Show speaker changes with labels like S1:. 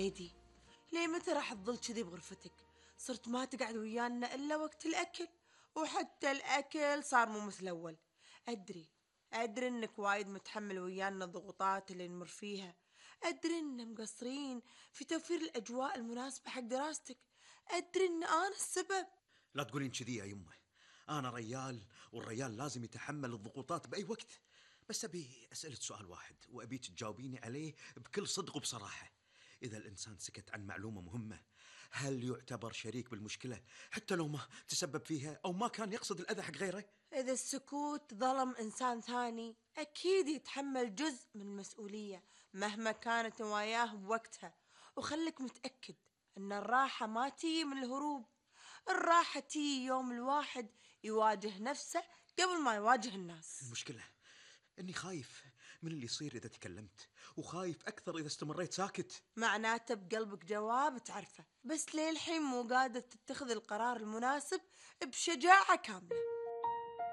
S1: ليدي، ليه متى راح تظل كذي بغرفتك؟ صرت ما تقعد ويانا إلا وقت الأكل، وحتى الأكل صار مو مثل الأول. أدري إنك وايد متحمل ويانا الضغوطات اللي نمر فيها، أدري إن مقصرين في توفير الأجواء المناسبة حق دراستك، أدري إن أنا السبب.
S2: لا تقولين كذي يا يمه، أنا ريال والريال لازم يتحمل الضغوطات بأي وقت. بس أبي أسألك سؤال واحد وأبيك تجاوبيني عليه بكل صدق وبصراحة. إذا الإنسان سكت عن معلومة مهمة، هل يعتبر شريك بالمشكلة حتى لو ما تسبب فيها أو ما كان يقصد الأذى حق غيره؟
S1: إذا السكوت ظلم إنسان ثاني أكيد يتحمل جزء من المسؤولية مهما كانت نواياه بوقتها. وخلك متأكد أن الراحة ما تيجي من الهروب، الراحة تيجي يوم الواحد يواجه نفسه قبل ما يواجه الناس.
S2: المشكلة إني خايف من اللي يصير إذا تكلمت، وخايف أكثر إذا استمريت ساكت.
S1: معناته بقلبك جواب تعرفه، بس للحين مو قادر تتخذ القرار المناسب بشجاعة كاملة.